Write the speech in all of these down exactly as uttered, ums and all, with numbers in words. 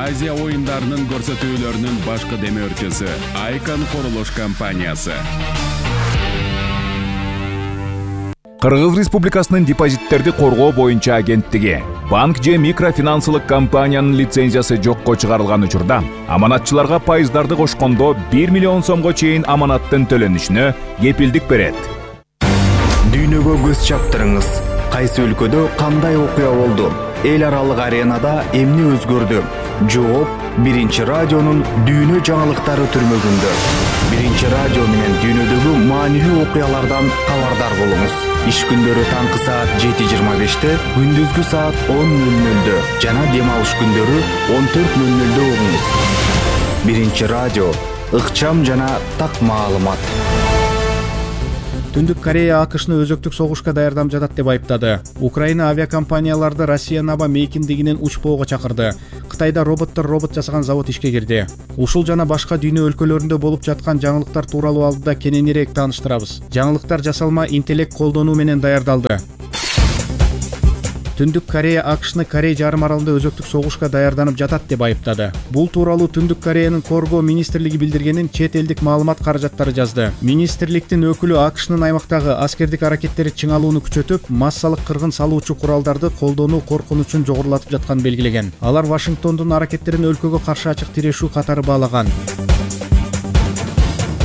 Азия оюндарынын көрсөтүүлөрүнүн башкы демөөрчүсү Айкон курулуш компаниясы. Кыргыз Республикасынын депозиттерди коргоо боюнча агенттиги банк же микрофинансылык компаниянын лицензиясы жокко чыгарылган учурда аманатчыларга пайыздарды кошкондо бир миллион сомго чейин аманаттын төлөнүшүнө кепилдик берет. Дүйнөгө көз чаптырыңыз. Кайсы өлкөдө кандай окуя болду? Эл аралык аренада эмне өзгөрдү? Жооп Биринчи радионун дүйнө жаңылыктары түрмөгүндө. Биринчи радио менен дүйнөдөгү маанилүү окуялардан кабардар болуңуз. Иш күндөрү таңкы саат жети жыйырма беште, күндүзгү саат он нөл нөлдө жана дем алыш күндөрү он төрт нөл нөлдө угуңуз. Биринчи радио, ыкчам жана так маалымат. Түндүк Корея АКШны өзөктүк согушка даярданып жатат деп айыптады. Украина авиакомпанияларды Россия наба мейкиндигинен учпоого чакырды. Кытайда роботтор робот жасаган завод ишке кирди. Ушул жана башка дүйнө өлкөлөрүндө болуп жаткан жаңылыктар тууралуу алдыда кененирээк тааныштырабыз. Жаңылыктар жасалма интеллект колдонуу менен даярдалды. Түндүк Корея АКШны Корей жарым аралында өзөктүк согушка даярданып жатат деп айыптады. Бул тууралуу Түндүк Кореянын коргоо министрлиги билдиргенин чет элдик маалымат каражаттары жазды. Министрликтин өкүлү АКШнын аймактагы аскердик аракеттери чыңалууну күчөтүп, массалык кыргын салуучу куралдарды колдонуу коркунучун жогорулатып жатканын белгилеген. Алар Вашингтондун аракеттерин өлкөгө каршы ачык тирешүү катары баалаган.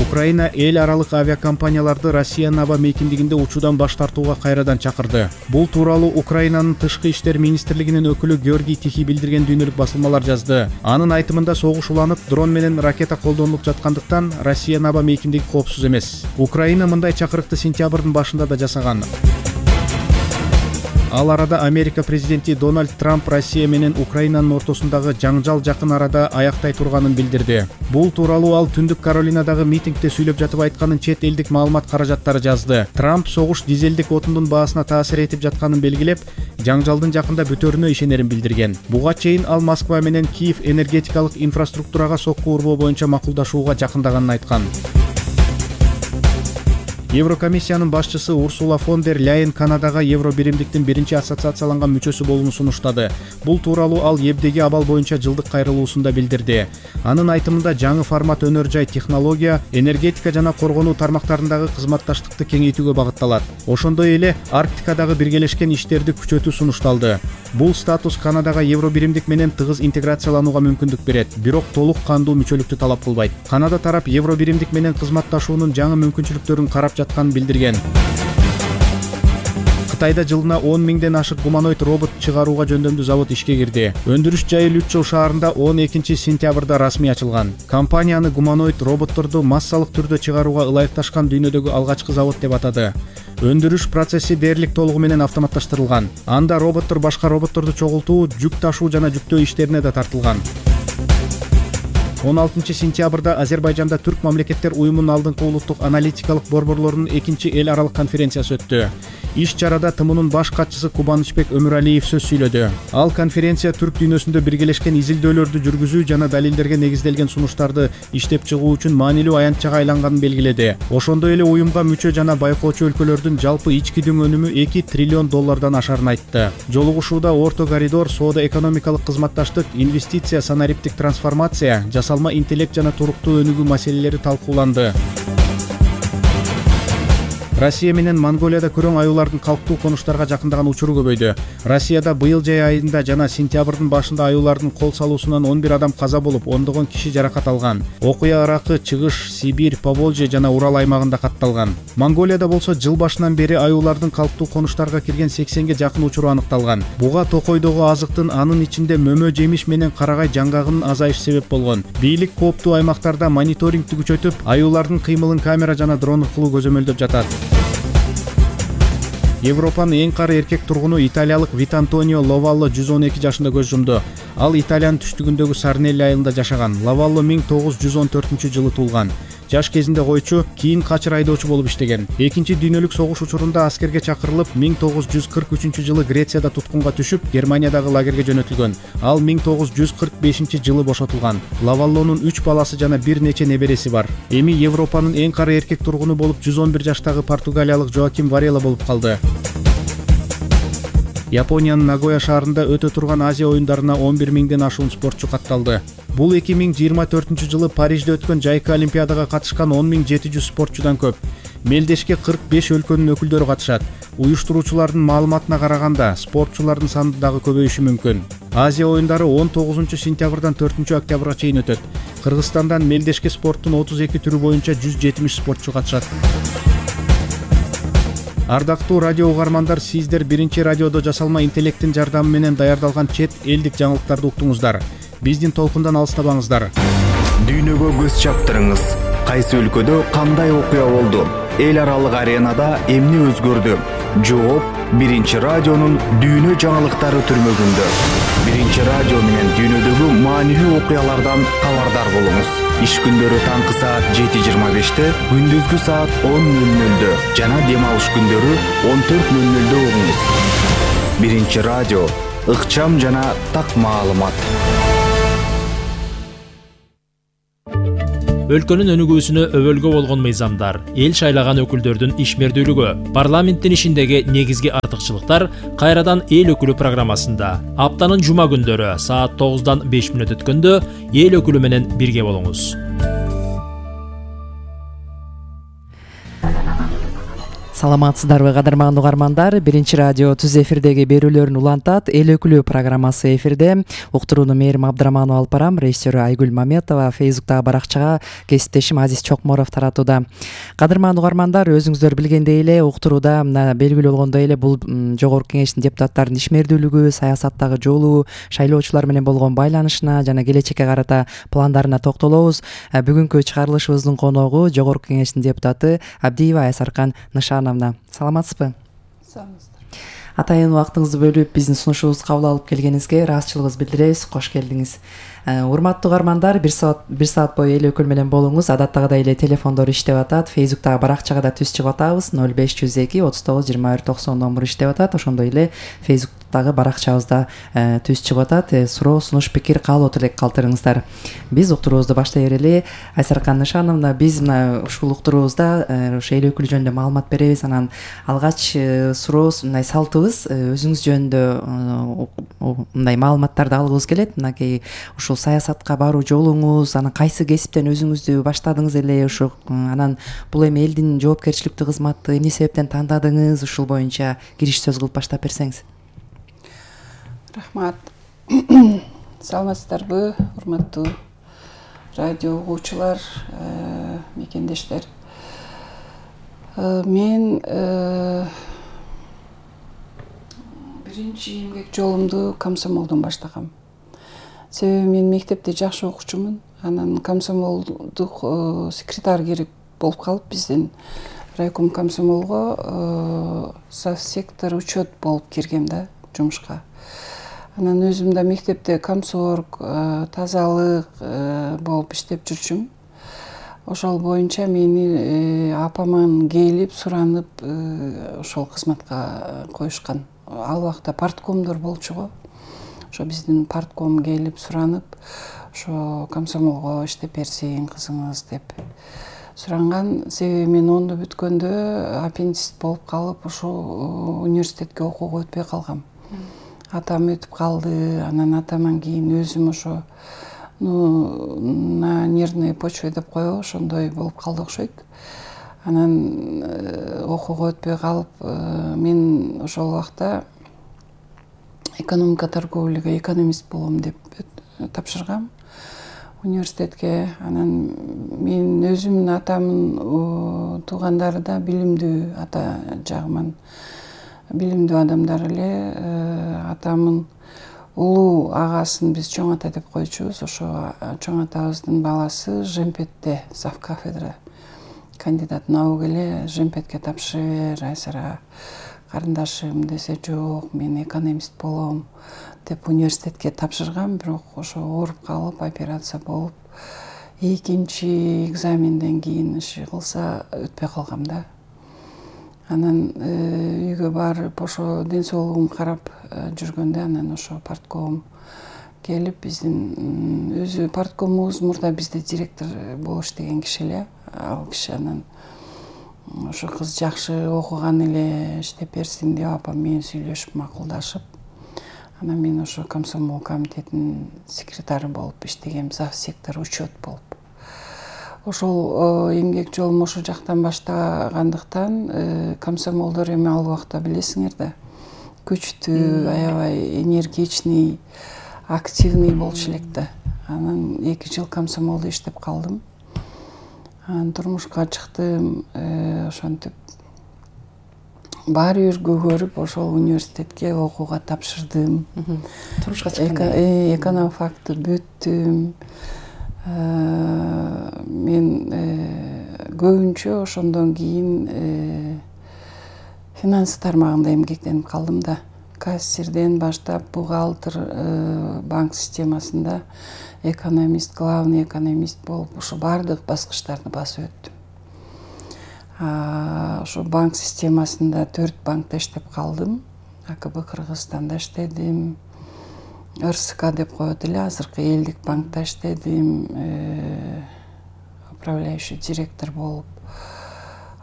Украина эл аралык авиакомпанияларды Россия наба мейкиндигинде учуудан баш тартууга кайрадан чакырды. Бул тууралуу Украинанын тышкы иштер министрлигинин өкүлү Георгий Тихий билдирген дүйнөлүк басылмалар жазды. Анын айтымында согуш уланып, дрон менен ракета колдонулуп жаткандыктан Россия наба мейкиндиги коопсуз эмес. Украина мындай чакырыкты сентябрдын башында да жасаган. Ал арада Америка президенти Дональд Трамп Россия менен Украинанын ортосундагы жаңжал жакын арада аяктай турганын билдирди. Бул тууралуу ал Түндүк Каролинадагы митингде сүйлөп жатып айтканын чет элдик маалымат каражаттары жазды. Трамп согуш дизелдик отундун баасына таасир этип жатканын белгилеп, жаңжалдын жакында бүтөөрүнө ишенерин билдирген. Буга чейин ал Москва менен Киев энергетикалык инфраструктурага сокку урбоо боюнча макулдашууга жакындаганын айткан. Еврокомиссиянын башчысы Урсула фон дер Ляйен Канадага евро биримдиктин биринчи ассоциацияланган мүчөсү болууну сунуштады. Бул тууралуу ал Ебдеги абал боюнча жылдык кайрылуусунда билдирди. Анын айтымында жаңы формат өнөр жай технология, энергетика жана коргонуу тармактарындагы кызматташтыкты кеңейтүүгө багытталат. Ошондой эле Арктикадагы биргелешкен иштерди күчөтүү сунушталды. Бул статус Канадага евро биримдик менен тыгыз интеграцияланууга мүмкүндүк берет, бирок толук кандуу мүчөлүктү талап кылбайт. Канада тарап евро биримдик менен кызматташуунун жаңы мүмкүнчүлүктөрүн карап жатканын билдирген. Кытайда жылына он миңден ашык гуманоид робот чыгарууга жөндөмдүү завод ишке кирди. Өндүрүш жайы Лючжоу шаарында он экинчи сентябрда расмий ачылган. Компанияны гуманоид роботторду массалык түрдө чыгарууга ылайыкташкан дүйнөдөгү алгачкы завод деп атады. Өндүрүш процесси дээрлик толугу менен автоматташтырылган. Анда роботтор башка роботторду чогултуу, жүк ташуу жана жүктөө иштерине да тартылган. он алтынчы сентябрда Азербайжанда Түрк мамлекеттер уюмунун алдыңкы улуттук аналитикалык борборлорунун экинчи эл аралык конференциясы өттү. Иш чарада ТМУнун баш катчысы Кубанычбек Өмүралиев сөз сүйлөдү. Ал конференция түрк дүйнөсүндө биргелешкен изилдөөлөрдү жүргүзүү жана далилдерге негизделген сунуштарды иштеп чыгуу үчүн маанилүү аянтчага айланганын белгиледи. Ошондой эле уюмга мүчө жана байкоочу өлкөлөрдүн жалпы ички дүң өнүмү эки триллион доллардан ашарын айтты. Жолугушууда орто коридор, соода экономикалык кызматташтык, инвестиция, санариптик трансформация, жасалма интеллект жана туруктуу өнүгүү маселелери талкууланды. Россия менен Монголияда көрөң аюулардын калктуу конуштарга жакындаган учуру көбөйдү. Россияда быйыл жай айында жана сентябрдын башында аюулардын кол салуусунан он бир адам каза болуп, ондогон киши жаракат алган. Окуя Иракы, Чыгыш, Сибирь, Поволжье жана Урал аймагында катталган. Монголияда болсо жыл башынан бери аюулардын калктуу конуштарга кирген сексенге жакын учуру аныкталган. Буга токойдогу азыктын, анын ичинде мөмө жемиш менен карагай жаңгагынын азайышы себеп болгон. Бийлик кооптуу аймактарда мониторингти күчөтүп, аюулардын кыймылын камера жана дрон аркылуу көзөмөлдөп жатат. Европанын эң кары эркек тургуну италиялык Витантонио Ловалло жүз он эки жашында көз жумду. Ал Италиянын түштүгүндөгү Сарнелли айылында жашаган. Ловалло миң тогуз жүз он төртүнчү жылы туулган. Жаш кезинде койчу, кийин качыр айдоочу болуп иштеген. Экинчи дүйнөлүк согуш учурунда аскерге чакырылып, миң тогуз жүз кырк үчүнчү жылы Грецияда туткунга түшүп, Германиядагы лагерге жөнөтүлгөн. Ал миң тогуз жүз кырк бешинчи жылы бошотулган. Ловаллонун үч баласы жана бир нече небереси бар. Эми Европанын эң кары эркек тургуну болуп жүз он бир жаштагы португалиялык Жоаким Варела болуп калды. Япониянын Нагоя шаарында өтө турган Азия оюндарына он бир миңден ашуун спортчу катталды. Бул эки миң жыйырма төртүнчү жылы Парижде өткөн жайкы олимпиадага катышкан он миң жети жүз спортчудан көп. Мелдешке кырк беш өлкөнүн өкүлдөрү катышат. Уюштуруучулардын маалыматына караганда, спортчулардын саны дагы көбөйүшү мүмкүн. Азия оюндары он тогузунчу сентябрдан төртүнчү октябрга чейин өтөт. Кыргызстандан мелдешке спорттун отуз эки түрү боюнча жүз жетимиш спортчу катышат. Ардактуу радио угармандар, сиздер биринчи радиодо жасалма интеллекттин жардамы менен даярдалган чет элдик жаңылыктарды уктуңуздар. Биздин толкундан алыстабаңыздар. Дүйнөгө көз чаптырыңыз. Кайсы өлкөдө кандай окуя болду? Эл аралык аренада эмне өзгөрдү? Жооп биринчи радионун дүйнө жаңылыктары түрмөгүндө. Биринчи радио менен дүйнөдөгү маанилүү окуялардан кабардар болуңуз. Иш күндөрү таңкы саат жети жыйырма беште, күндүзгү саат он нөл нөлдө жана дем алыш күндөрү он төрт нөл нөлдө угуңуз. Биринчи радио, ыкчам жана так маалымат. Өлкөнүн өнүгүүсүнө өбөлгө болгон мыйзамдар, эл шайлаган өкүлдөрдүн ишмердүүлүгү, парламенттин ишиндеги негизги артыкчылыктар кайрадан эл өкүлү программасында. Аптанын жума күндөрү саат тогуздан беш мүнөт өткөндө эл өкүлү менен бирге болуңуз. Саламатсыздарбы, кадырман угармандар? Биринчи радио түз эфирдеги берүүлөрүн улантат. Эл өкүлү программасы эфирде. Уктурууну Мээрим Абдыраманова алып барам. Режиссеру Айгүл Маметова, Фейсбуктагы баракчага кесиптешим Азиз Чокморов таратууда. Кадырман угармандар, өзүңүздөр билгендей эле, уктурууда мына белгилүү болгондой эле бул жогорку кеңештин депутаттарынын ишмердүүлүгү, саясаттагы жолу, шайлоочулар менен болгон байланышына жана келечекке карата пландарына токтолобуз. Бүгүнкү чыгарылышыбыздын коногу жогорку кеңештин депутаты Абдиева Айсаркан Нышановна. Саламатсызбы? Саламатсыздар. Атайын убактыңызды бөлүп биздин сунушубузду кабыл алып келгениңизге ыраазычылыгыбызды билдиребиз. Кош келдиңиз. Урматтуу угармандар, бир саат бир саат бою эл өкүл менен болуңуз. Адаттагыдай эле телефондор иштеп атат. Фейсбуктагы баракчага да түз чыгып атабыз. ноль беш жүз эки отуз тогуз жыйырма бир токсон номуру иштеп атат. Ошондой эле Фейсбуктагы баракчабызда түз чыгып атат. Суроо, сунуш, пикир, каалоо тилек калтырыңыздар. Биз уктуруубузду баштай берели. Айсаркан Нышановна, биз мына ушул уктуруубузда ошо эл өкүлү жөнүндө маалымат беребиз. Анан алгач сурообуз, мындай салтыбыз, өзүңүз жөнүндө мындай маалыматтарды алгыбыз келет. Мынакей ушул саясатка баруу жолуңуз, анан кайсы кесиптен өзүңүздү баштадыңыз эле, ошо анан бул эми элдин жоопкерчиликтүү кызматы эмне себептен тандадыңыз, ушул боюнча кириш сөз кылып баштап берсеңиз. Рахмат. Саламатсыздарбы, урматтуу радио угуучулар, мекендештер. Мен биринчи эмгек жолумду комсомолдон баштагам. Себеби мен мектепте жакшы окуучумун. Анан комсомолдук секретарь керек болуп калып, биздин райком комсомолго совсектор учет болуп киргем да жумушка. Анан өзүм да мектепте комсорг, тазалык болуп иштеп жүрчүм. Ошол боюнча мени апаман келип суранып ошол кызматка коюшкан. Ал убакта парткомдор болчу го. Ошо биздин партком келип суранып, ошо комсомолго иштеп берсең кызыңыз деп суранган. Себеби мен онду бүткөндө аппендицит болуп калып, ошо университетке окууга өтпөй калгам. Атам өтүп калды, анан атаман кийин өзүм ошо ну на нервной почве деп коебу, ошондой болуп калды окшойт. Анан окууга өтпөй калып, мен ошол убакта экономика торговляга экономист болом деп тапшыргам университетке. Анан мен өзүмдүн атамдын туугандары да билимдүү, ата жагыман билимдүү адамдар эле. Атамдын улуу агасын биз чоң ата деп койчубуз. Ошо чоң атабыздын баласы Жемпетте зав кафедра кандидат наук эле. Жемпетке тапшырып бер, Айсара карындашым десе, жок, мен экономист болом деп университетке тапшыргам. Бирок ошо ооруп калып, операция болуп, экинчи экзаменден кийин иши кылса өтпөй калгам да. Анан үйгө барып, ошо ден соолугум карап жүргөндө, анан ошо партком келип, биздин өзү парткомубуз мурда бизде директор болуп иштеген киши эле. Ал киши анан ошо кыз жакшы окуган эле иштеп берсин деп апам менен сүйлөшүп макулдашып, анан мен ошо комсомол комитетинин секретары болуп иштегем, зав сектор учет болуп. Ошол эмгек жолум ошол жактан баштагандыктан комсомолдор эми ал убакта билесиңер да, күчтүү, аябай энергичный, активный болчу элек да. Анан эки жыл комсомолдо иштеп калдым. Анан турмушка чыктым, ошентип баары бир көгөрүп ошол университетке окууга тапшырдым. Турмушка чыкканда экономфакты бүттүм. Мен көбүнчө ошондон кийин финанс тармагында эмгектенип калдым да. Кассирден баштап бухгалтер, банк системасында экономист, главный экономист болуп, ошо баардык баскычтарды басып өттүм. Ошо банк системасында төрт банкта иштеп калдым. А К Б Кыргызстанда иштедим. Р С К деп коет эле, азыркы элдик банкта иштедим. Управляющий директор болуп.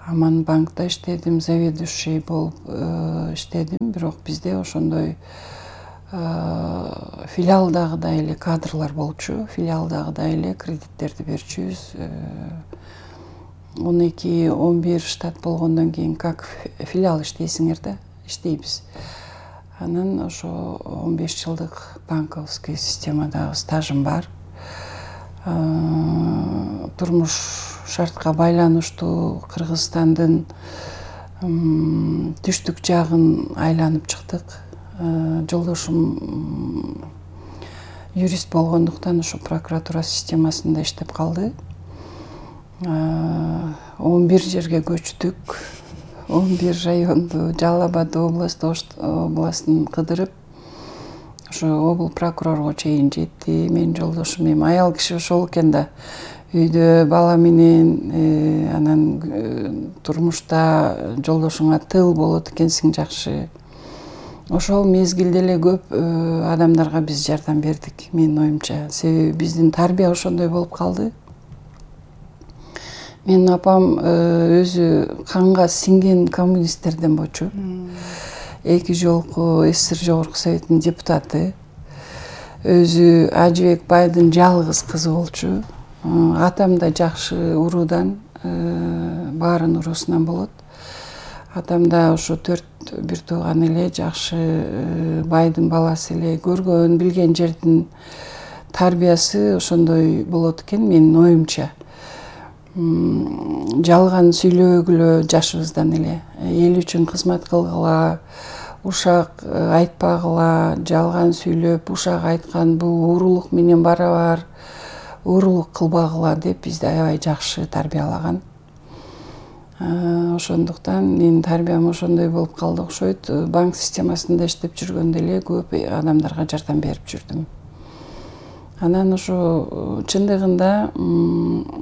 Аман банкта иштедим, заведующий болуп иштедим. Бирок бизде ошондой филиалдагыдай эле кадрлар болчу. Филиалдагыдай эле кредиттерди берчүбүз. он эки он бир штат болгондон кийин как филиал иштейсиңер да, иштейбиз. Анан ошо он беш жылдык банковский системадагы стажым бар. Турмуш шартка байланыштуу Кыргызстандын түштүк жагын айланып чыктык. Жолдошум юрист болгондуктан ошо прокуратура системасында иштеп калды. он бир жерге көчтүк. он бир районду, Жалал Абад областын кыдырып, ошо обул прокурорго чейин жетти. Мен жолдошум эми аял киши ошол экен да. Үйдө бала менен, анан турмушта жолдошуңа тыл болот экенсиң жакшы. Ошол мезгилде эле көп адамдарга биз жардам бердик, менин оюмча. Себеби биздин тарбия ошондой болуп калды. Менин апам өзү канга сиңген коммунисттерден болчу. Эки жолку С С Р Жогорку Советинин депутаты. Өзү Ажыбек байдын жалгыз кызы болчу. Атам да жакшы уруудан, баарын уруусунан болот. Атам да ошо төрт бир тууган эле, жакшы байдын баласы эле, көргөн, билген жердин тарбиясы ошондой болот экен менин оюмча. Жалган сүйлөгүлө жашыбыздан эле, эл үчүн кызмат кылгыла, ушак айтпагыла, жалган сүйлөп, ушак айткан бул уурулук менен барабар, уурулук кылбагыла деп бизди аябай жакшы тарбиялаган. Ошондуктан менин тарбиям ошондой болуп калды окшойт. Банк системасында иштеп жүргөндө эле көп адамдарга жардам берип жүрдүм. Анан ошо чындыгында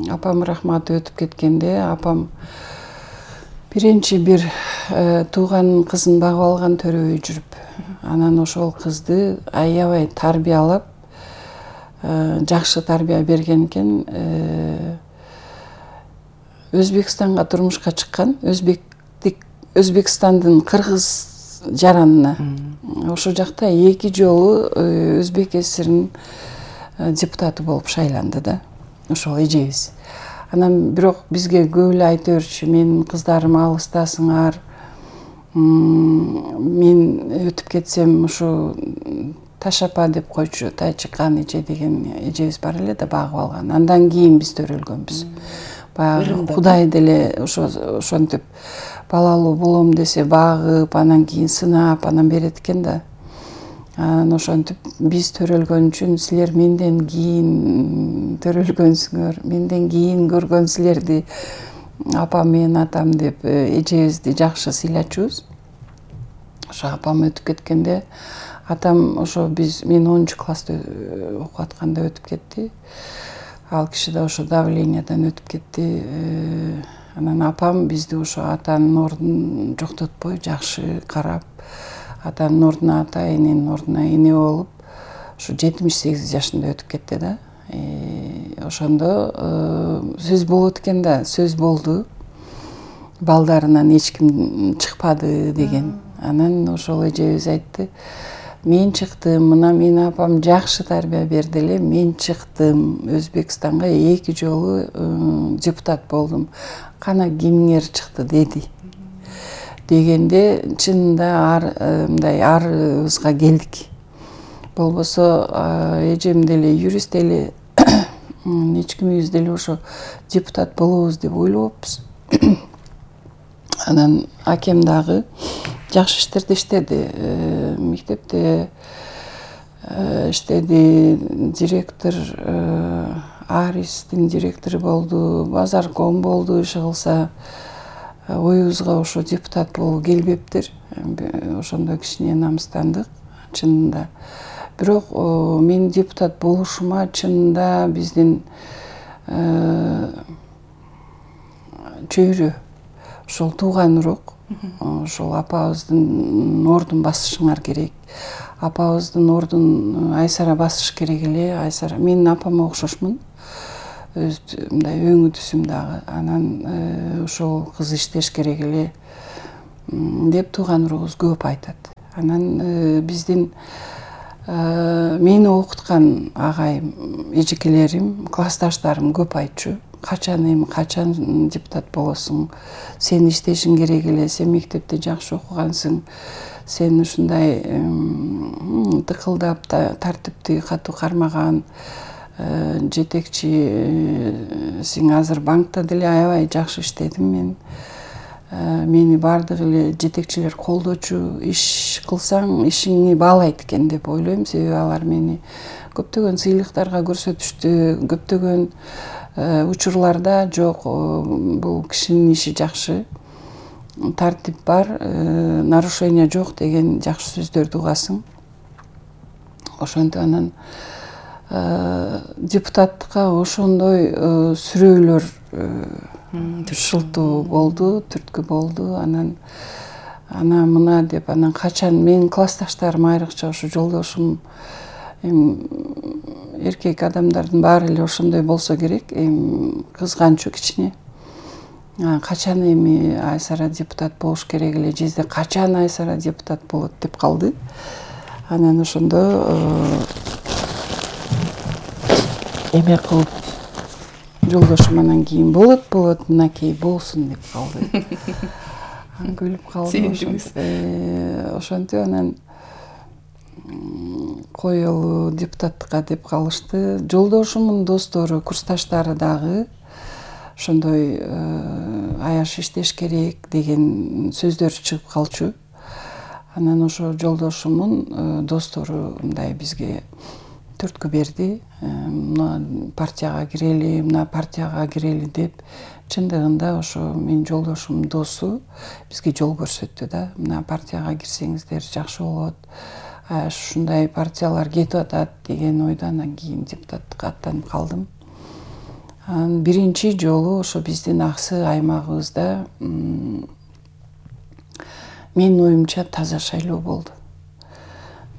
апам рахматы өтүп кеткенде, апам биринчи бир тууган кызын багып алган төрөбөй жүрүп, анан ошол кызды аябай тарбиялап, жакшы тарбия берген экен. Өзбекстанга турмушка чыккан, өзбектик Өзбекстандын кыргыз жаранына. Ошол жакта эки жолу Өзбек С С Р'нин депутаты болуп шайланды да, ошол эжебиз. Анан бирок бизге көп эле айта берчү, менин кыздарым алыстасыңар, мен өтүп кетсем ушу Ташапа деп койчу, Тайчыкан эже деген эжебиз бар эле да, багып алган. Андан кийин биз төрөлгөнбүз. Баягы Кудай деле ошо ошентип балалуу болом десе багып, анан кийин сынап, анан берет экен да. Анан ошентип биз төрөлгөн үчүн силер менден кийин төрөлгөнсүңөр, менден кийин көргөн силерди апам менен атам деп эжебизди жакшы сыйлачубуз. Ошо апам өтүп кеткенде, атам ошо биз мен онунчу класста окуп атканда өтүп кетти. Ал киши да ошо давлениядан өтүп кетти. Анан апам бизди ошо атанын ордун жоктотпой жакшы карап, атанын ордуна ата, эненин ордуна эне болуп, ошо жетимиш сегиз жашында өтүп кетти да. Ошондо сөз болот экен да, сөз болду. балдарынан эч ким чыкпады деген. Анан ошол эжебиз айтты, мен чыктым, мына менин апам жакшы тарбия берди эле, мен чыктым Өзбекстанга эки жолу депутат болдум. Кана кимиңер чыкты деди. Дегенде чынында ар мындай арыбызга келдик. Болбосо эжем деле юрист эле, эч кимибиз деле ошо депутат болобуз деп ойлобоппуз. Анан акем дагы жакшы іштерді иштеди. Мектепте иштеди, директор, Арistин директору болду, базарком болду. Иши кылса оюбузга ошо депутат болуу келбептир. Ошондо кичине намыстандык чынында. Бирок мен депутат болушума чынында биздин чөйрө, ошол тууган урок, ошол апабыздын ордун басышыңар керек. Апабыздын ордун Айсара басыш керек эле. Айсара менин апама окшошмун. Өз мындай өңү түсүм дагы. Анан ошол кыз иштеш керек эле деп тууган урубуз көп айтат. Анан биздин мени окуткан агайым, эжекелерим, классташтарым көп айтчу. Качан эми качан депутат болосуң? Сен иштешиң керек эле, сен мектепте жакшы окугансың. Сен ушундай тыкылдап, тартипти катуу кармаган жетекчисиң. Азыр банкта деле аябай жакшы иштедим мен. Мени бардык эле жетекчилер колдочу. Иш кылсаң ишиңи баалайт экен деп ойлойм. Себеби алар мени көптөгөн сыйлыктарга көрсөтүштү. Көптөгөн учурларда жок, бул кишинин иши жакшы, тартип бар, нарушение жок деген жакшы сөздөрдү угасың. Ошентип анан депутаттыкка ошондой сүрөөлөр шылтуу болду, түрткү болду. Анан ана мына деп, анан качан менин классташтарым, айрыкча ошо жолдошум, эркек адамдардын баары эле ошондой болсо керек, эми кызганчу кичине. Качан эми Айсара депутат болуш керек эле, жезде качан Айсара депутат болот деп калды. Анан ошондо эме кылып жолдошум анан кийин болот, болот, мынакей болсун деп калды. Анан күлүп калды. Ошентип анан коелу депутаттыкка деп калышты. Жолдошумдун достору, курсташтары дагы ошондой аяш иштеш керек деген сөздөр чыгып калчу. Анан ошо жолдошумдун достору мындай бизге түрткү берди. Мына партияга кирели, мына партияга кирели деп. Чындыгында ошо менин жолдошумдун досу бизге жол көрсөттү да. Мына партияга кирсеңиздер жакшы болот. Ушундай партиялар кетип атат деген ойдо анан кийин депутаттыкка аттанып калдым. Анан биринчи жолу ошо биздин Аксы аймагыбызда менин оюмча таза шайлоо болду.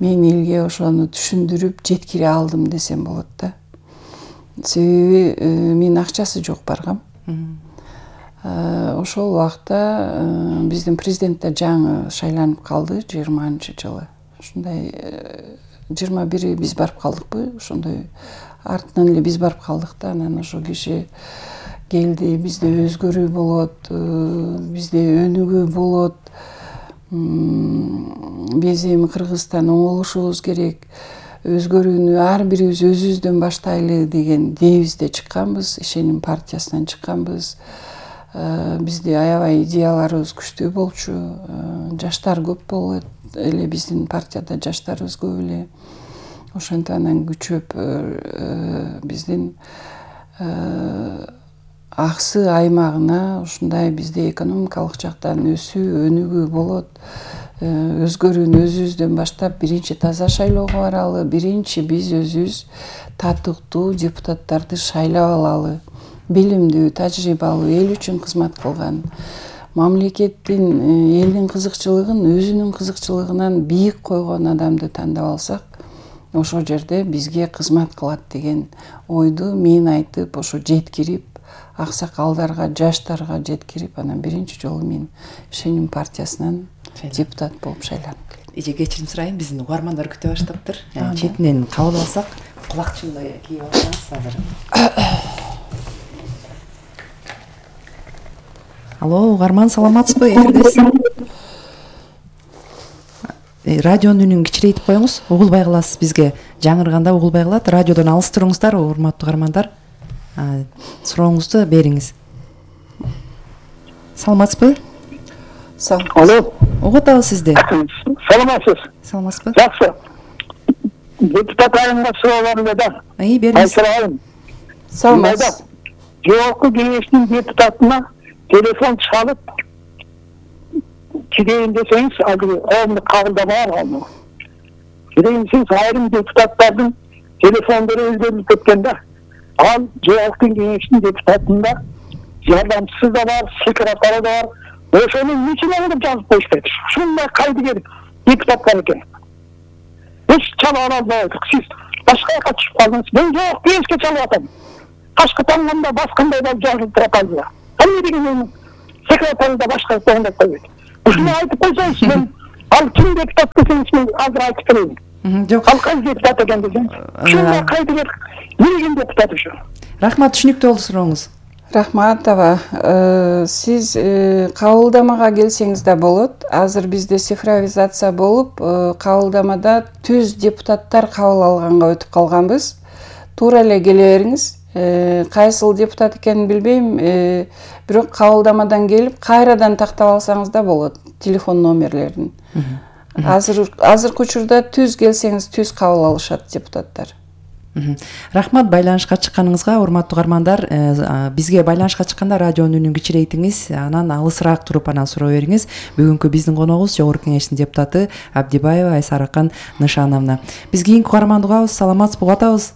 Мен элге ошону түшүндүрүп жеткире алдым десем болот да. Себеби менин акчасы жок баргам. Ошол убакта биздин президент да жаңы шайланып калды жыйырманчы жылы. Ушундай жыйырма бири биз барып калдыкпы, ошондой артынан эле биз барып калдык да. Анан ошо киши келди, бизде өзгөрүү болот, бизде өнүгүү болот. Биз эми Кыргызстан оңолушубуз керек, өзгөрүүнү ар бирибиз өзүбүздөн баштайлы деген дебизде чыкканбыз, ишеним партиясынан чыкканбыз. Бизде аябай идеяларыбыз күчтүү болчу, жаштар көп болот эле, биздин партияда жаштарыбыз көп эле. Ошентип анан күчөп биздин Аксы аймагына ушундай бизде экономикалык жактан өсүү, өнүгүү болот. Өзгөрүүнү өзүбүздөн баштап биринчи таза шайлоого баралы, биринчи биз өзүбүз татыктуу депутаттарды шайлап алалы. Билимдүү, тажрыйбалуу, эл үчүн кызмат кылган, мамлекеттин, элдин кызыкчылыгын өзүнүн кызыкчылыгынан бийик койгон адамды тандап алсак, ошол жерде бизге кызмат кылат деген ойду мен айтып, ошо жеткирип, аксакалдарга, жаштарга жеткирип, анан биринчи жолу мен Шеним партиясынан депутат болуп шайланып келдим. Эже кечирим сурайын, биздин угармандар күтө баштаптыр. Четинен кабыл алсак, кулакчынды кийип алсаңыз азыр. Алло, угарман, саламатсызбы? Эфирдесиз. Радионун үнүн кичирейтип коюңуз, угулбай каласыз бизге. Жаңырганда угулбай калат. Радиодон алыс туруңуздар, урматтуу угармандар. Сурооңузду бериңиз. Саламатсызбы? Алло. Угуп атабыз сизди. Саламатсыз. Саламатсызбы? Жакшы. Депутат айымга суроолорум да. Ай, бериңиз. Саламатсыз. Жогорку кеңештин депутатына телефон чалып кирейин десеңиз, коомду кабылдабаар ал. Кирейин десеңиз, айрым депутаттардын телефондору өздөрүнүп кеткен да. Ал жогорку кеңештин депутатында жардамчысы да бар, секретары да бар. Ошону эмне алып жазып коюшпайт? Ушундай кайдыгер депутаттар экен. Эч чала албайт. Сиз башка жака чыгып калдыңыз. Мен жок, кеңешке чалып атам. Кашка таңганда баскандай да жазылып турат алды. Эмне деген секретары да башка таңдап койбойт. Ушуну айтып койсоңуз, мен ал ким депутат десеңиз, мен азыр айтып берейин. Жок. Ал кайсы депутат экен десеңиз. Ушундай кайдыгер эмне депутат ушу? Рахмат, түшүнүктүү болду сурооңуз. Рахмат аба. Сиз кабылдамага келсеңиз да болот. Азыр бизде цифровизация болуп, кабылдамада түз депутаттар кабыл алганга өтүп калганбыз. Туура эле келе бериңиз. Кайсыл депутат экенин билбейм, бирок кабылдамадан келип кайрадан тактап алсаңыз да болот телефон номерлерин. Азыр азыркы учурда түз келсеңиз түз кабыл алышат депутаттар. Рахмат, байланышка чыкканыңызга. Урматтуу угармандар, бизге байланышка чыкканда радионун үнүн кичирейтиңиз, анан алысыраак туруп анан суроо бериңиз. Бүгүнкү биздин коногубуз Жогорку кеңештин депутаты Абдибаева Айсаракан Нышановна. Биз кийинки угарманды угабыз. Саламатсызбы? Угуп атабыз.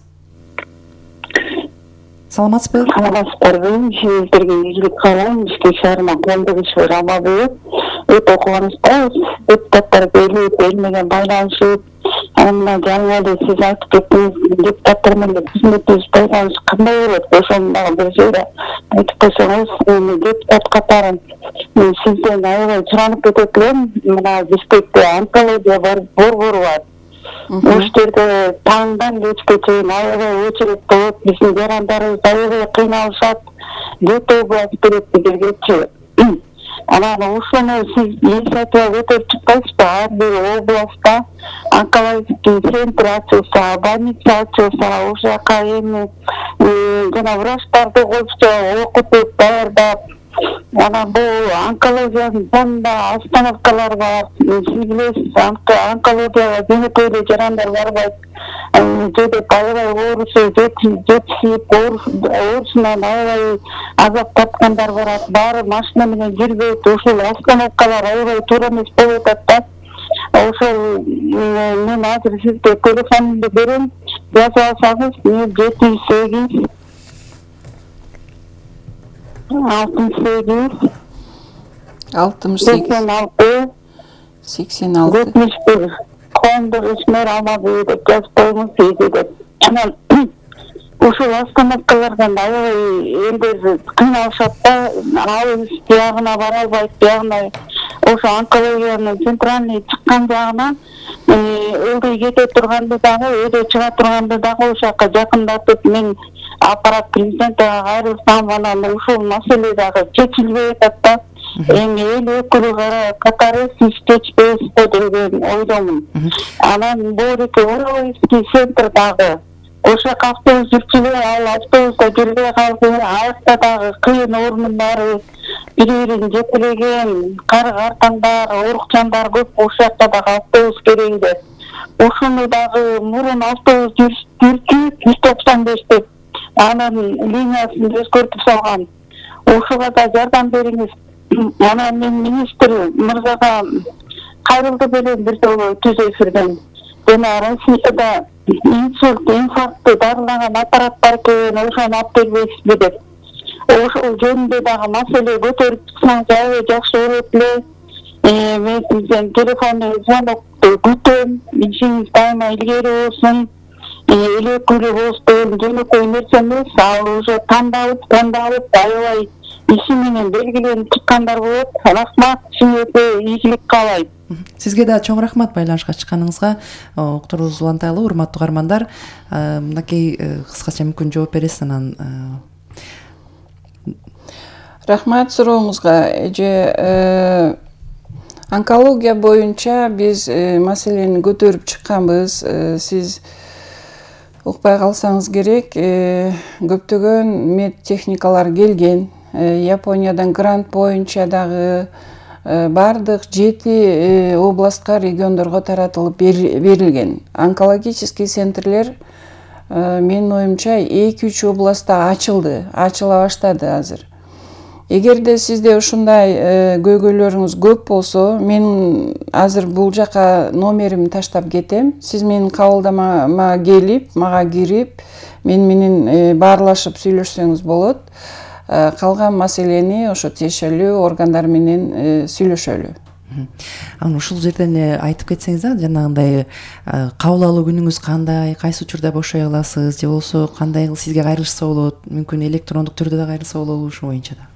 Саламатсызбы? Саламатсыздарбы? Сиздерге ийгилик каалайм. Бишкек шаарына коомдук иш Рамабиев. Өтө кубанычтабыз. Депутаттар келип, элмеген байланышып, анан жаңы эле сиз айтып кеттиңиз, депутаттар менен кызметтеш байланыш кандай болот? Ошону дагы бир жерде айтып койсоңуз, депутат катарын мен сизден аябай суранып кетет элем. Мына Бишкекте онкология борбору бар. Ошол жерде таңдан кечке чейин аябай очередь болот. Биздин жарандарыбыз аябай кыйналышат. Жети область берет бизгечи. Анан ошону сиз инициатива көтөрүп чыкпайсызбы? Ар бир областта онкологический центр ачылса, больница ачылса, ошол жака эми жана врачтарды коюпчу, окутуп, даярдап, анан бул онкологиянын жанында остановкалар бар. Сиз билесиз, онкологияга жөнөкөй жарандар барбайт. Жедеп аябай оорусу жетишип, оорусунан аябай азап тарткандар барат. Баары машина менен жүрбөйт. Ошол остановкалар аябай туура эмес болуп атат да. Ошол мен азыр сизге телефонумду берем. Жазып алсаңыз, жети жүз сегиз алтымыш сегиз алтымыш сегиз сексен алты сексен алты жетимиш бир коомдук ишмер Алмабүй деп жазып коюңуз дейди деп. Анан ушул остановкалардан аябай элдер кыйналышат да, алыс биягына бара албайт, биягына ошо онкологиянын центральный чыккан жагына ылдый кете турганды дагы, өйдө чыга турганды дагы ошол жака жакындатып, мен аппарат президентке кайрылсам, анан ушул маселе дагы чечилбей атат да. Эми эл өкүлү катары сиз чечпейсиз го деген ойдомун. Анан Боорики Уровойский центр дагы ошол жака автобус жүрчүлөр, ал автобуста жүрбөй калды. Аякта дагы кыйын орунун баары бири-бирин жетелеген, кары-картаңдар, оорукчандар көп. Ошол жакта дагы автобус керек эле. Ошону дагы мурун автобус жүрчү жүз токсон беш деп анан линиясын өзгөртүп салган. Ошого да жардам бериңиз. Анан мен министр мырзага кайрылды белем бир жолу түз эфирден. Жана Россияда инсульт, инфарктты дарылаган аппарат бар экен, ошону алып бербейсизби деп. Ошол жөнүндө дагы маселе көтөрүп чыксаңыз аябай жакшы болот эле. Мен сизден телефондон звонокту күтөм. Ишиңиз дайыма илгери болсун. эл өкүлү болуш деген жөнөкөй нерсе эмес. Ал уже тандалып тандалып аябай иши менен белгиленип чыккандар болот. Рахмат, сиңерге ийгилик каалайм. Сизге да чоң рахмат байланышка чыкканыңызга. Уктуруубуз улантайлы, урматтуу угармандар. Мынакей кыскача мүмкүн жооп бересиз анан. Рахмат сурооңузга. Эже онкология боюнча биз маселени көтөрүп чыкканбыз. Сиз укпай калсаңыз керек, көптөгөн мед техникалар келген. Япониядан грант боюнча дагы бардык жети областка, региондорго таратылып берилген. Онкологический центрлер менин оюмча эки үч областта ачылды, ачыла баштады азыр. Эгерде сизде ушундай көйгөйлөрүңүз көп болсо, мен азыр бул жака номеримди таштап кетем. Сиз менин кабылдамама келип, мага кирип, мен менен баарлашып сүйлөшсөңүз болот. Калган маселени ошо тиешелүү органдар менен сүйлөшөлү. Анан ушул жерден айтып кетсеңиз да, жанагындай кабыл алуу күнүңүз кандай, кайсы учурда бошой аласыз, же болбосо кандай сизге кайрылышса болот, мүмкүн электрондук түрдө да кайрылса болобу, ушул боюнча да.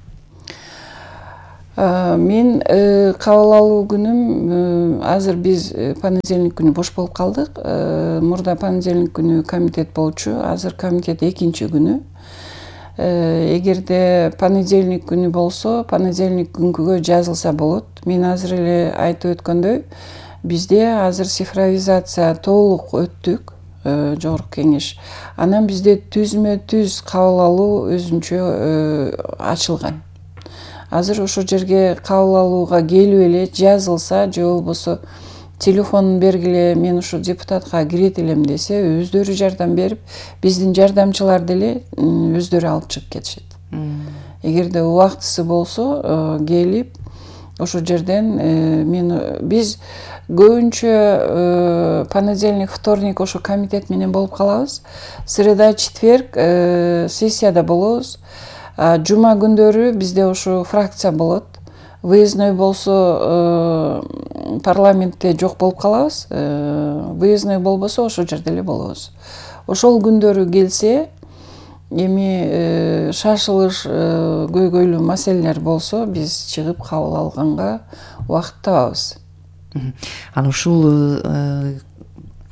Мен кабыл алуу күнүм азыр биз понедельник күнү бош болуп калдык. Мурда понедельник күнү комитет болчу, азыр комитет экинчи күнү. Эгерде понедельник күнү болсо, понедельник күнгүгө жазылса болот. Мен азыр эле айтып өткөндөй, бизде азыр цифровизация толук өттүк, жогорку кеңеш. Анан бизде түзмө түз кабыл алуу өзүнчө ачылган. Азыр ошол жерге кабыл алууга келип эле жазылса, же болбосо телефонун бергиле, мен ушу депутатка кирет элем десе, өздөрү жардам берип, биздин жардамчылар деле өздөрү алып чыгып кетишет. Эгерде убактысы болсо, келип ошол жерден мен биз көбүнчө понедельник, вторник ошо комитет менен болуп калабыз. Среда, четверг сессияда болобуз. Жума күндөрү бизде ошо фракция болот. Выездной болсо парламентте жок болуп калабыз. Выездной болбосо ошол жерде эле болобуз. Ошол күндөрү келсе, эми шашылыш көйгөйлүү маселелер болсо, биз чыгып кабыл алганга убакыт табабыз. Анан ушул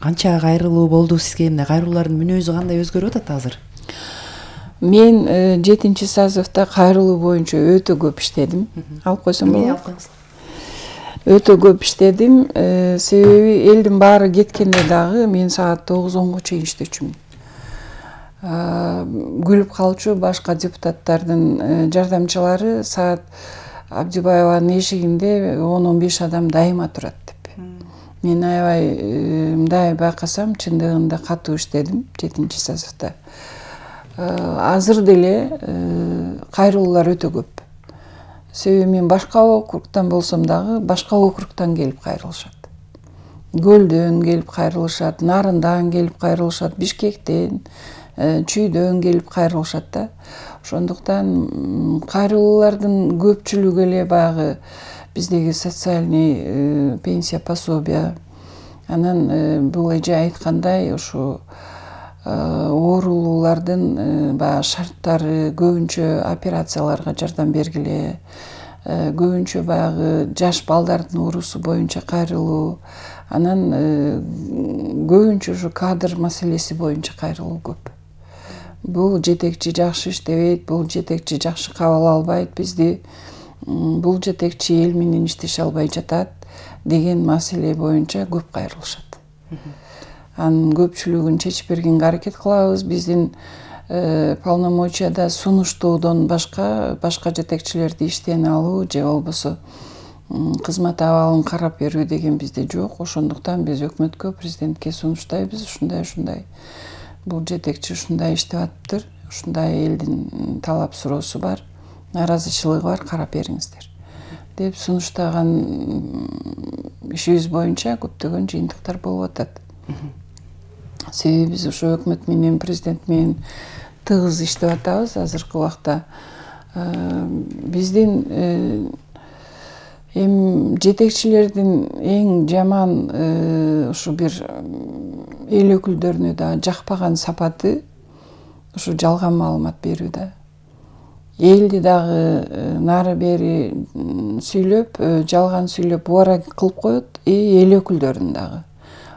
канча кайрылуу болду сизге? Эмне кайрылуулардын мүнөзү кандай өзгөрүп атат азыр? Мен жетинчи созывда кайрылуу боюнча өтө көп иштедим. Алып койсом болобу? Өтө көп иштедим. Себеби элдин баары кеткенде дагы мен саат тогуз онго чейин иштечүмүн. Күлүп калчу башка депутаттардын жардамчылары саат Абдибаеванын эшигинде он он беш адам дайыма турат деп. Мен аябай мындай байкасам, чындыгында катуу иштедим жетинчи созывда. Азыр деле кайрылуулар өтө көп. Себеби мен башка округтан болсом дагы, башка округтан келип кайрылышат. Көлдөн келип кайрылышат, Нарындан келип кайрылышат, Бишкектен, Чүйдөн келип кайрылышат да. Ошондуктан кайрылуулардын көпчүлүгү эле баягы биздеги социальный пенсия, пособия. Анан бул эже айткандай, ушу оорулуулардын баягы шарттары, көбүнчө операцияларга жардам бергиле, көбүнчө баягы жаш балдардын оорусу боюнча кайрылуу, анан көбүнчө ушу кадр маселеси боюнча кайрылуу көп. Бул жетекчи жакшы иштебейт, бул жетекчи жакшы кабыл албайт бизди, бул жетекчи эл менен иштеше албай жатат деген маселе боюнча көп кайрылышат. Анын көпчүлүгүн чечип бергенге аракет кылабыз. Биздин полномочияда сунуштоодон башка башка жетекчилерди иштен алуу же болбосо кызмат абалын карап берүү деген бизде жок. Ошондуктан биз өкмөткө, президентке сунуштайбыз, ушундай ушундай бул жетекчи ушундай иштеп атыптыр, ушундай элдин талап суроосу бар, нааразычылыгы бар, карап бериңиздер деп сунуштаган ишибиз боюнча көптөгөн жыйынтыктар болуп атат. Себеби биз ошо өкмөт менен, президент менен тыгыз иштеп атабыз азыркы убакта. Биздин Эми жетекчилердин эң жаман ушу бир эл өкүлдөрүнө да жакпаган сапаты ушу жалган маалымат берүү да. Элди дагы нары бери сүйлөп, жалган сүйлөп убара кылып коет, и эл өкүлдөрүн дагы.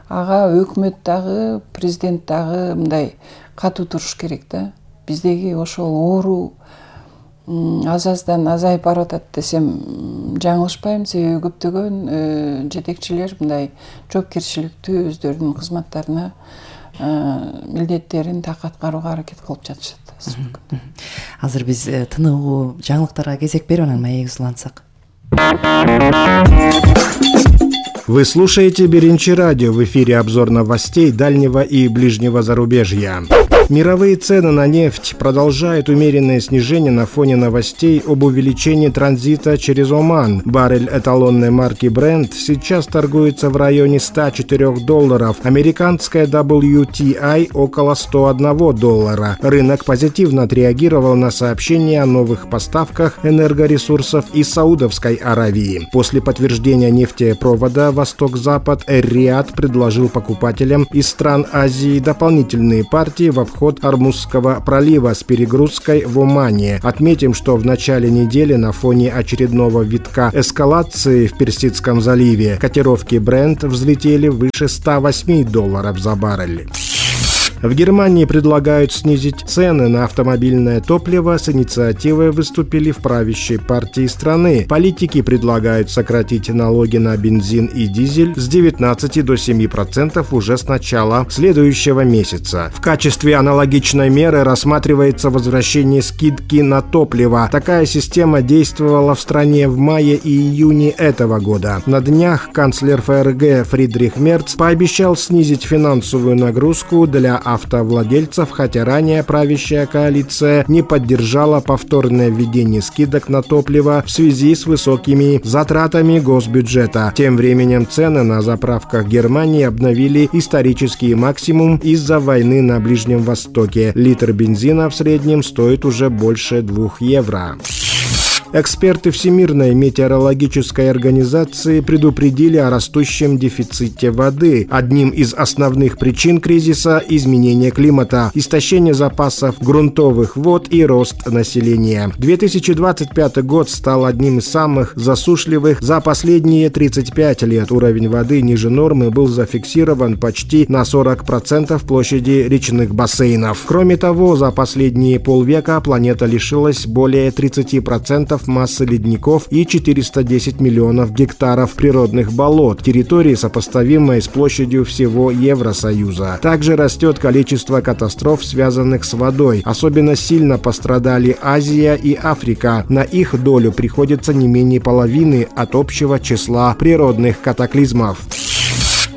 Ага өкмөт дагы, президент дагы мындай катуу туруш керек да. Биздеги ошол оору аз-аздан азайып баратат десем жаңылышпайм, себеби көптөгөн жетекчилер мындай жоопкерчиликтүү өздөрүнүн кызматтарына милдеттерин так аткарууга аракет кылып жатышат. Азыр биз тыныгуу жаңылыктарга кезек берип анан маегибизди улантсак. Вы слушаете Биринчи радио, в эфире обзор новостей дальнего и ближнего зарубежья. Мировые цены на нефть продолжают умеренное снижение на фоне новостей об увеличении транзита через Оман. Баррель эталонной марки Brent сейчас торгуется в районе ста четырёх долларов, американская дабл ю ти ай около ста одного доллара. Рынок позитивно отреагировал на сообщения о новых поставках энергоресурсов из Саудовской Аравии. После подтверждения нефтепровода Восток-Запад Эр-Рияд предложил покупателям из стран Азии дополнительные партии в обход Ормузского пролива с перегрузкой в Омане. Отметим, что в начале недели на фоне очередного витка эскалации в Персидском заливе котировки Brent взлетели выше ста восьми долларов за баррель. В Германии предлагают снизить цены на автомобильное топливо. С инициативой выступили в правящей партии страны. Политики предлагают сократить налоги на бензин и дизель с девятнадцати до семи процентов уже с начала следующего месяца. В качестве аналогичной меры рассматривается возвращение скидки на топливо. Такая система действовала в стране в мае и июне этого года. На днях канцлер эф эр гэ Фридрих Мерц пообещал снизить финансовую нагрузку для автовладельцев, хотя ранее правящая коалиция не поддержала повторное введение скидок на топливо в связи с высокими затратами госбюджета. Тем временем цены на заправках Германии обновили исторический максимум из-за войны на Ближнем Востоке. Литр бензина в среднем стоит уже больше двух евро. Эксперты Всемирной метеорологической организации предупредили о растущем дефиците воды. Одним из основных причин кризиса – изменение климата, истощение запасов грунтовых вод и рост населения. две тысячи двадцать пятый год стал одним из самых засушливых за последние тридцать пять лет. Уровень воды ниже нормы был зафиксирован почти на сорок процентов площади речных бассейнов. Кроме того, за последние полвека планета лишилась более тридцати процентов массы ледников и четырёхсот десяти миллионов гектаров природных болот, территории, сопоставимой с площадью всего Евросоюза. Также растет количество катастроф, связанных с водой. Особенно сильно пострадали Азия и Африка. На их долю приходится не менее половины от общего числа природных катаклизмов.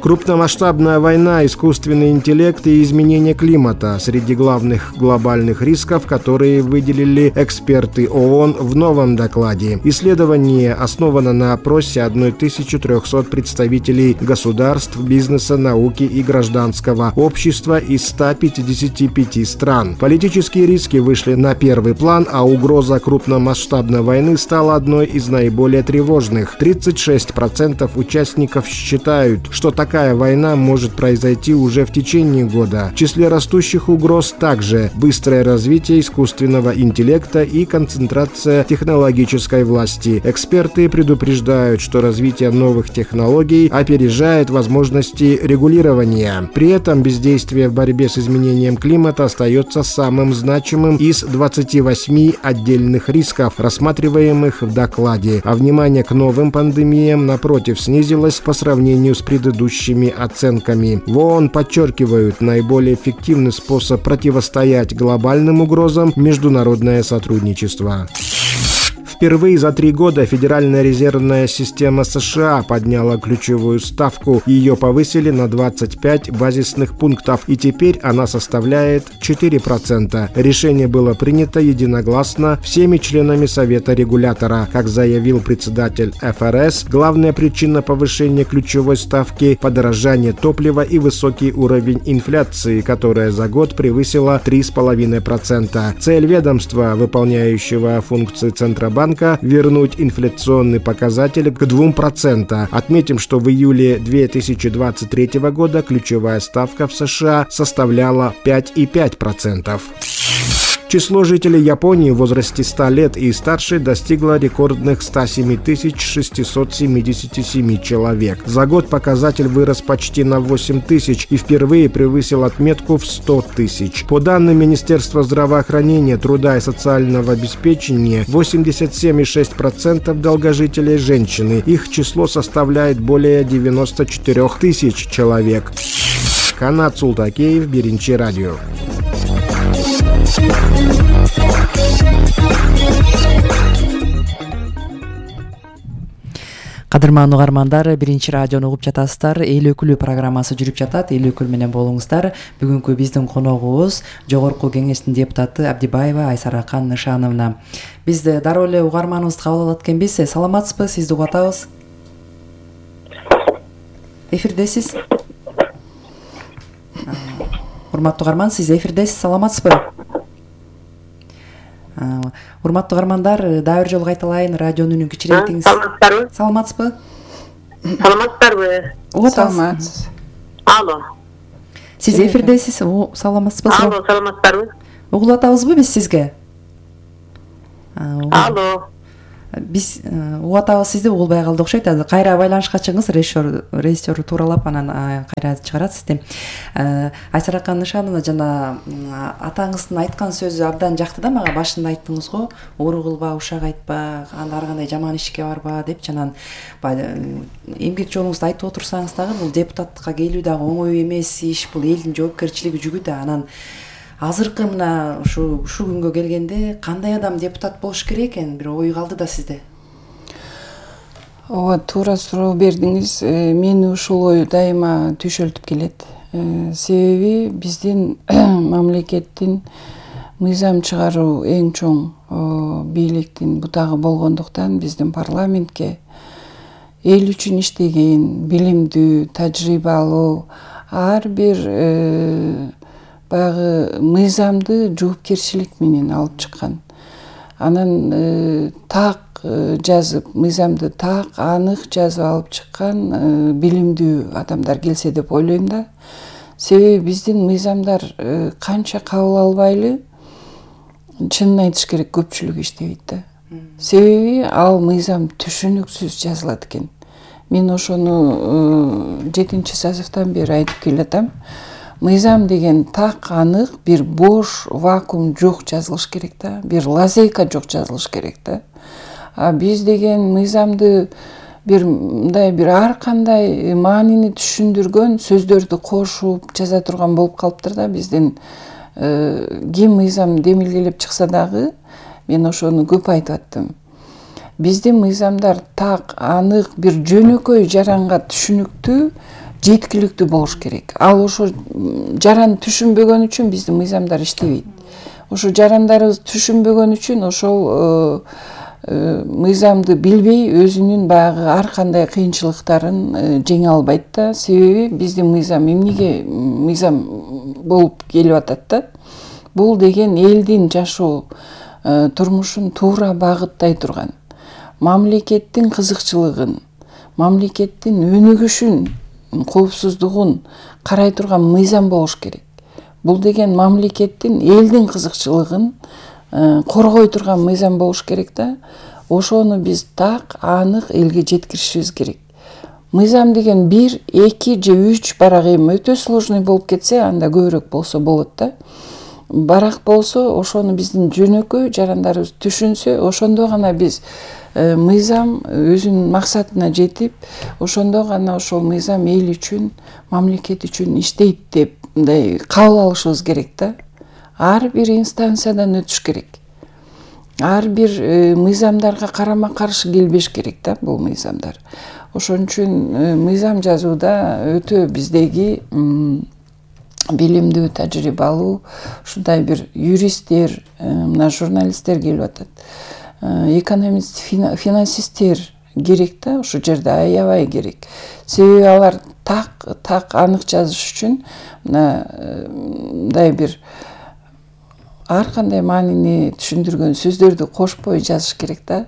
Крупномасштабная война, искусственный интеллект и изменение климата – среди главных глобальных рисков, которые выделили эксперты ООН в новом докладе. Исследование основано на опросе тысячи трёхсот представителей государств, бизнеса, науки и гражданского общества из ста пятидесяти пяти стран. Политические риски вышли на первый план, а угроза крупномасштабной войны стала одной из наиболее тревожных. тридцать шесть процентов участников считают, что так Такая война может произойти уже в течение года. В числе растущих угроз также быстрое развитие искусственного интеллекта и концентрация технологической власти. Эксперты предупреждают, что развитие новых технологий опережает возможности регулирования. При этом бездействие в борьбе с изменением климата остается самым значимым из двадцати восьми отдельных рисков, рассматриваемых в докладе, а внимание к новым пандемиям, напротив, снизилось по сравнению с предыдущими оценками. В ООН подчеркивают, наиболее эффективный способ противостоять глобальным угрозам – международное сотрудничество. Впервые за три года Федеральная резервная система США подняла ключевую ставку. Ее повысили на двадцать пять базисных пунктов, и теперь она составляет четыре процента. Решение было принято единогласно всеми членами Совета регулятора. Как заявил председатель эф эр эс, главная причина повышения ключевой ставки – подорожание топлива и высокий уровень инфляции, которая за год превысила три целых пять десятых процента. Цель ведомства, выполняющего функции Центробанка, Центробанка вернуть инфляционный показатель к двум процентам. Отметим, что в июле две тысячи двадцать третьего года ключевая ставка в США составляла пять и пять десятых процента. Число жителей Японии в возрасте ста лет и старше достигло рекордных ста семи тысяч шестисот семидесяти семи человек. За год показатель вырос почти на восемь тысяч и впервые превысил отметку в сто тысяч. По данным Министерства здравоохранения, труда и социального обеспечения, восемьдесят семь и шесть десятых процента долгожителей женщины. Их число составляет более девяноста четырёх тысяч человек. Канат Султакеев, Биринчи радио. Кадырман угармандар, Биринчи радиону угуп жатасыздар. Эл өкүлү программасы жүрүп жатат. Эл өкүл менен болуңуздар. Бүгүнкү биздин коногубуз Жогорку Кеңештин депутаты Абдибаева Айсаракан Нышановна. Биз дароо эле угарманыбызды кабыл алат экенбиз. Саламатсызбы? Сизди угуп атабыз. Эфирдесиз. Урматтуу угарман, сиз эфирдесиз. Саламатсызбы? Урматтуу угармандар, дагы бир жолу кайталайын, радионун үнүн кичирейтиңиз. Саламатсыздарбы? Саламатсызбы? Саламатсыздарбы? Саламатсыз. Алло. Сиз эфирдесиз. Саламатсызбы? Алло, саламатсыздарбы? Угулуп атабызбы биз сизге? Алло. Биз угуп атабыз, сизди угулбай калды окшойт. Азыр кайра байланышка чыгыңыз, режиссер режиссер тууралап анан кайра чыгарат сизди. Айсаракан Нышановна, жана атаңыздын айткан сөзү абдан жакты да мага. Башында айттыңыз го, оору кылба, ушак айтпа, анда ар кандай жаман ишке барба деп, жанан эмгек жолуңузду айтып отурсаңыз дагы бул депутаттыкка келүү дагы оңой эмес иш, бул элдин жоопкерчилиги жүгү да. Анан азыркы мына ушу ушул күнгө келгенде кандай адам депутат болуш керек экен, бир ой калды да сизде? Ооба, туура суроо бердиңиз. Мени ушул ой дайыма түйшөлтүп келет. Себеби биздин мамлекеттин мыйзам чыгаруу эң чоң бийликтин бутагы болгондуктан биздин парламентке эл үчүн иштеген, билимдүү, тажрыйбалуу ар бир баягы мыйзамды жоопкерчилик менен алып чыккан. Анан так жазып, мыйзамды так, анык жазып алып чыккан билимдүү адамдар келсе деп ойлойм да. Себеби биздин мыйзамдар канча кабыл албайлы, чынын айтыш керек, көпчүлүгү иштебейт да. Себеби ал мыйзам түшүнүксүз жазылат экен. Мен ошону жетинчи созывдан бери айтып келатам. Мыйзам деген так, анык, бир бош вакуум жок жазылыш керек да, бир лазейка жок жазылыш керек да. А биз деген мыйзамды бир мындай бир ар кандай маанини түшүндүргөн сөздөрдү кошуп жаза турган болуп калыптыр да. Биздин ким мыйзам демилгелеп чыкса дагы, мен ошону көп айтып аттым. Биздин мыйзамдар так, анык, бир жөнөкөй жаранга түшүнүктүү, жеткиликтүү болуш керек. Ал ошо жаран түшүнбөгөн үчүн биздин мыйзамдар иштебейт. Ошо жарандарыбыз түшүнбөгөн үчүн ошол мыйзамды билбей өзүнүн баягы ар кандай кыйынчылыктарын жеңе албайт да. Себеби биздин мыйзам эмнеге мыйзам болуп келип атат да? Бул деген элдин жашоо турмушун туура багыттай турган, мамлекеттин кызыкчылыгын, мамлекеттин өнүгүшүн, коопсуздугун карай турган мыйзам болуш керек. Бул деген мамлекеттин, элдин кызыкчылыгын коргой турган мыйзам болуш керек да. Ошону биз так, анык элге жеткиришибиз керек. Мыйзам деген бир, эки же үч барак эми өтө сложный болуп кетсе, анда көбүрөөк болсо болот да. Барак болсо, ошону биздин жөнөкөй жарандарыбыз түшүнсө, ошондо гана биз мыйзам өзүнүн максатына жетип, ошондо гана ошол мыйзам эл үчүн, мамлекет үчүн иштейт деп мындай кабыл алышыбыз керек да. Ар бир инстанциядан өтүш керек. Ар бир мыйзамдарга карама каршы келбеш керек да бул мыйзамдар. Ошон үчүн мыйзам жазууда өтө биздеги билимдүү, тажрыйбалуу, ушундай бир юристтер, мына журналисттер келип атат. Экономист, финансисттер керек да, ошол жерде аябай керек. Себеби алар так, так анык жазыш үчүн мындай бир ар кандай маанини түшүндүргөн сөздөрдү кошпой жазыш керек да.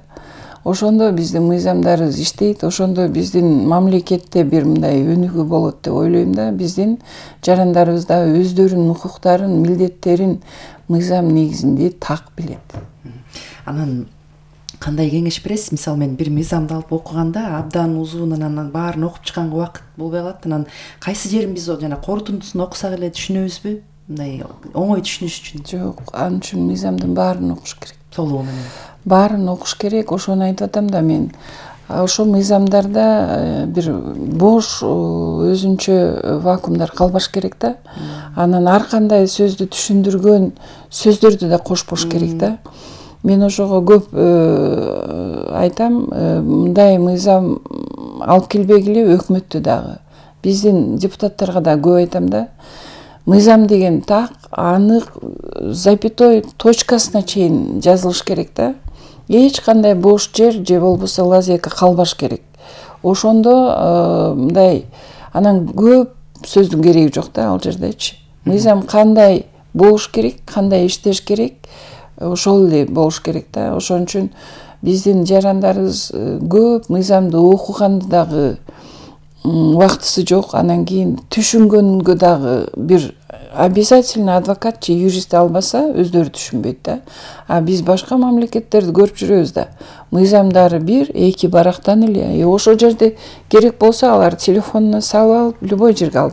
ошондо биздин мыйзамдарыбыз иштейт, ошондо биздин мамлекетте бир мындай өнүгүү болот деп ойлойм да. Биздин жарандарыбыз да өздөрүнүн укуктарын, милдеттерин мыйзам негизинде так билет. Анан кандай кеңеш бересиз? Мисалы мен бир мыйзамды алып окуганда абдан узун, анан баарын окуп чыкканга убакыт болбой калат. Анан кайсы жерин биз жана корутундусун окусак эле түшүнөбүзбү? Мындай оңой түшүнүш үчүн. Жок, ал үчүн мыйзамдын баарын окуш керек. Толугу менен. Баарын окуш керек. Ошону айтып атам да мен. Ошол мыйзамдарда бир бош өзүнчө вакуумдар калбаш керек да. Анан ар кандай сөздү түшүндүргөн сөздөрдү да кошпош керек да. Мен ошого көп айтам, мындай мыйзам алып келбегиле өкмөттү дагы. Биздин депутаттарга да көп айтам да. Мыйзам деген так, анык, запятой, точкасына чейин жазылыш керек да. Эч кандай бош жер же болбосо лазейка калбаш керек. Ошондо мындай анан көп сөздүн кереги жок да ал жердечи. Мыйзам кандай болуш керек, кандай иштеш керек, ошол эле болуш керек да. Ошон үчүн биздин жарандарыбыз көп мыйзамды окуганды дагы убактысы жок. Анан кийин түшүнгөнгө дагы бир обязательно адвокат же юрист албаса өздөрү түшүнбөйт да. А биз башка мамлекеттерди көрүп жүрөбүз да. Мыйзамдары бир, эки барактан эле. Ошол жерде керек болсо алар телефонуна салып алып, любой жерге алып